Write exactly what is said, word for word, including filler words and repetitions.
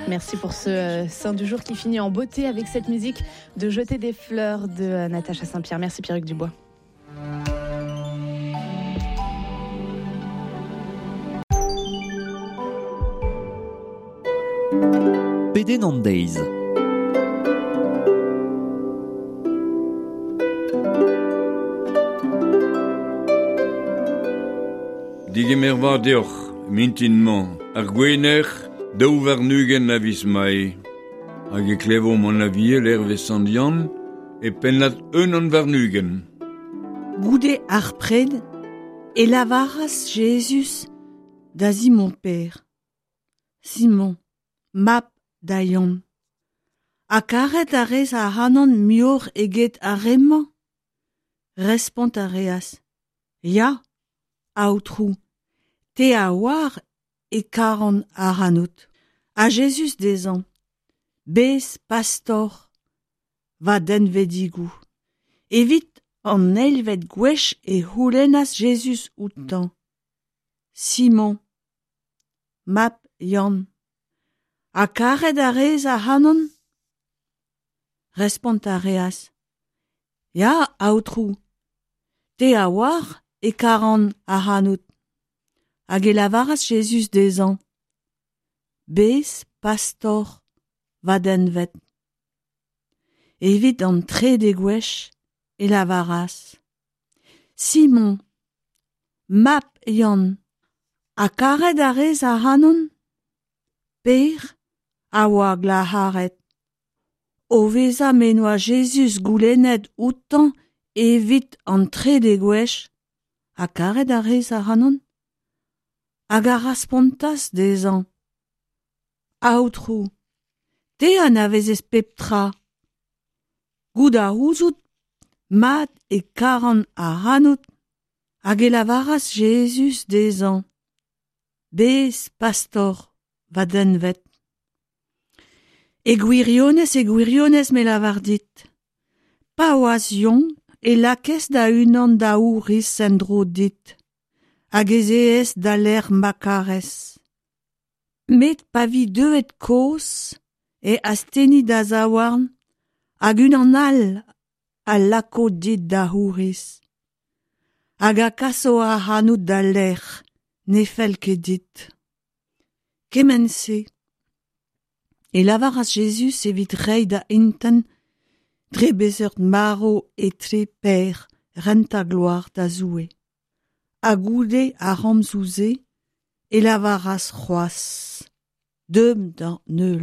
Merci pour ce euh, Saint du jour qui finit en beauté avec cette musique de Jeter des fleurs de euh, Natacha Saint-Pierre. Merci Pierre-Hugues Dubois. Pedenn an deiz. Digemer vat deoc'h, mintin-mañ, ar gwener, daou warn-ugent a viz Mae. Hag e klevomp an aviel hervez Sant Yann e pennad unan warn-ugent. Goude ar pred e lavaras Jezuz da Simon Pêr. Simon, mab da Yann. Ha karet a rez ac'hanon muioc'h eget ar re-mañ? Respont a reas. Ya, Aotrou, te a oar e karan ac'hanout. Ha Jezuz dezhañ, bez pastor va denvedigoù. Evit an eilvet gwech e c'houlennas Jezuz outañ. Simon, mab Yann, ha karet a rez ac'hanon? Respont a reas. Ya, Aotrou, te a oar e karan ac'hanout. Hag e lavaras Jezuz dezhañ. Bez pastor va denved. Evit an trede gwech e lavaras. Simon, mab Yann, ha karet a rez ac'hanon? Pêr a oa glac'haret. O vezañ m'en doa Jezuz goulennet outañ evit an trede gwech, ha karet a rez ac'hanon? Hag a respontas dezhañ. Aotrou, te anavezez pep tra. Goût a ouzout mat e karan ac'hanout. Hag e lavaras Jezuz dezhañ. Bez pastor va denved. E gwirionez, e gwirionez me lavar dit. Pa oas yaouank e lakaes da unan da ouriz en-dro dit. Hag ez ees da lec'h ma karez. Met pa vi deuet kozh e astenni da zaouarn hag unan all a lako dit da ouriz. Hag a kaso ac'hanout da lec'h ne fell ket dit. Kement-se e lavaras Jezuz evit reiñ da intent dre beseurt marv e tle Pêr rentañ gloar da Zoue. Ha goude ar c'homzoù-se e lavaras c'hoazh. Deomp d'an heul.